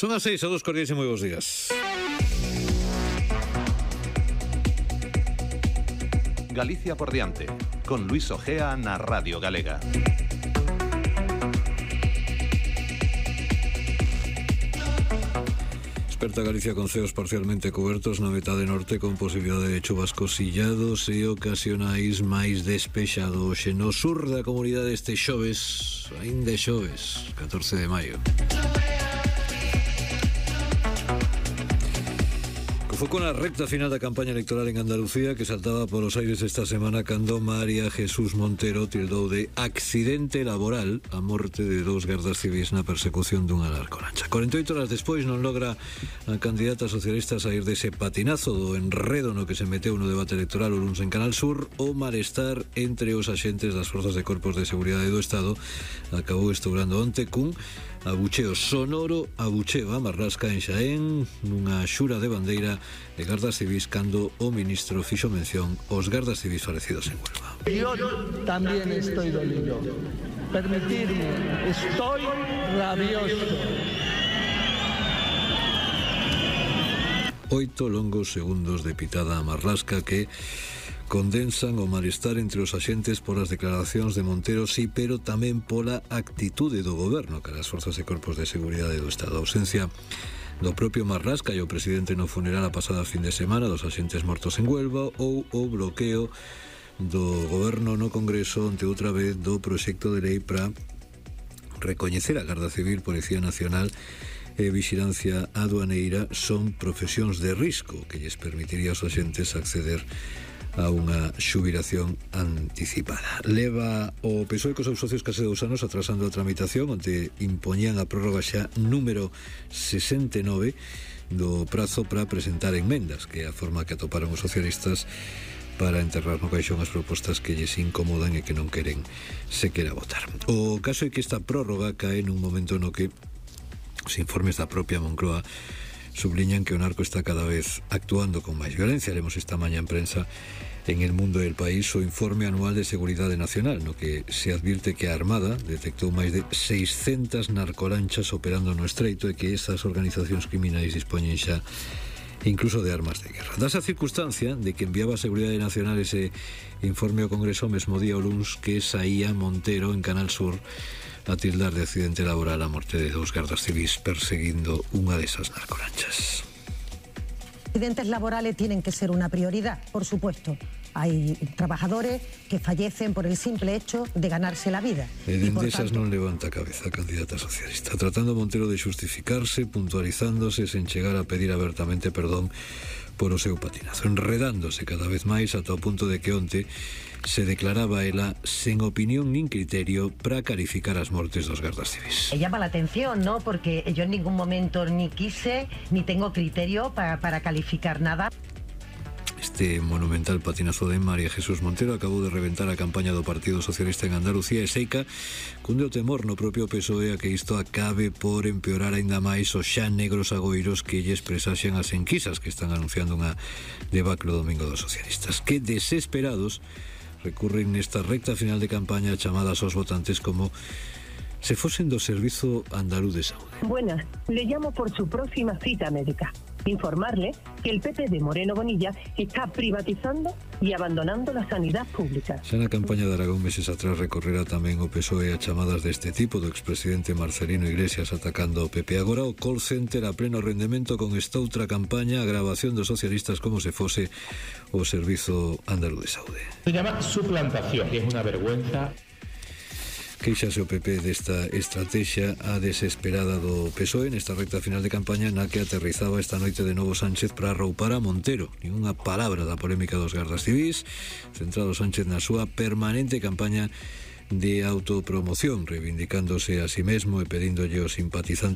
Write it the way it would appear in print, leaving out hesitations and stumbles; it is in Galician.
Son as 6, a dos cordiais e moi bons días. Galicia por diante, con Luis Ojea na Radio Galega. Desperta Galicia con ceos parcialmente cobertos na metade norte con posibilidade de chuvascos illados e ocasionais máis despexado. Hoxe no sur da comunidade este xoves, aínda xoves, 14 de maio. Foi con a recta final da campaña electoral en Andalucía que saltaba polos aires esta semana cando María Jesús Montero tildou de accidente laboral a morte de dous gardas civis na persecución dunha narcolancha. 48 horas despois non logra a candidata socialista sair dese patinazo do enredo no que se meteu no debate electoral o luns en Canal Sur. O malestar entre os axentes das forzas de corpos de seguridade do Estado acabou estourando onte cun abucheo sonoro, abucheo a Marlasca en Xaén nunha xura de bandeira de gardas civis cando o ministro fixo mención aos gardas civis falecidos en Huelva. Yo también estoy dolido. Permitirme, estoy rabioso. 8 longos segundos de pitada a Marlasca que condensan o malestar entre os axentes polas declaracións de Montero, sí, pero tamén pola actitude do goberno cara as forzas e corpos de seguridade do Estado. A ausencia do propio Marlasca e o presidente no funeral a pasada fin de semana dos axentes mortos en Huelva ou o bloqueo do goberno no Congreso ante outra vez do proxecto de lei para recoñecer a Garda Civil, Policía Nacional e Vixilancia Aduaneira son profesións de risco que lles permitiría aos axentes acceder a unha xubilación anticipada. Leva o PSOE cos seus socios case 2 anos atrasando a tramitación, onde impoñían a prórroga xa número 69 do prazo para presentar enmendas, que é a forma que atoparon os socialistas para enterrar no caixón as propostas que lles incomodan e que non queren sequera votar. O caso é que esta prórroga cae nun momento no que os informes da propia Moncloa subliñan que o narco está cada vez actuando con máis violencia. Lemos esta mañá en prensa en El Mundo del País o informe anual de Seguridade Nacional, no que se advirte que a Armada detectou máis de 600 narcolanchas operando no estreito e que esas organizacións criminais dispoñen xa incluso de armas de guerra. Dase a circunstancia de que enviaba a Seguridade Nacional ese informe ao Congreso o mesmo día o luns que saía Montero en Canal Sur a tildar de accidente laboral a morte de dous gardas civis perseguindo unha desas narcolanchas. Accidentes laborales tienen que ser una prioridad, por supuesto. Hay trabajadores que fallecen por el simple hecho de ganarse la vida. E dende esas non levanta a cabeza a candidata socialista, tratando Montero de xustificarse, puntualizándose sen chegar a pedir abertamente perdón por o seu patinazo, enredándose cada vez máis ata o punto de que onte se declaraba ela sen opinión nin criterio para calificar as mortes dos gardas civis. Llama la atención, ¿no? Porque yo en ningún momento ni quise ni tengo criterio para calificar nada. Este monumental patinazo de María Jesús Montero acabou de reventar a campaña do Partido Socialista en Andalucía e seica cunde o temor no propio PSOE a que isto acabe por empeorar aínda máis os xa negros agoiros que lles presaxan as enquisas que están anunciando unha debacle o domingo dos socialistas, que desesperados recurren nesta recta final de campaña chamadas aos votantes como se fosen do Servizo Andaluz de Saúde. Buenas, le llamo por su próxima cita médica. Informarle que el PP de Moreno Bonilla está privatizando y abandonando la sanidad pública. Xa na campaña de Aragón meses atrás recorrerá tamén o PSOE a chamadas deste tipo do expresidente Marcelino Iglesias atacando o PP. Agora o call center a pleno rendemento con esta outra campaña, a grabación dos socialistas como se fose o Servizo Andaluz de Saúde. Se llama suplantación y es una vergüenza. Queixase o PP desta estrategia a desesperada do PSOE nesta recta final de campaña na que aterrizaba esta noite de novo Sánchez para arroupar a Montero. Ninguna palabra da polémica dos gardas civis, centrado Sánchez na súa permanente campaña de autopromoción, reivindicándose a sí mesmo e pedíndolle aos simpatizantes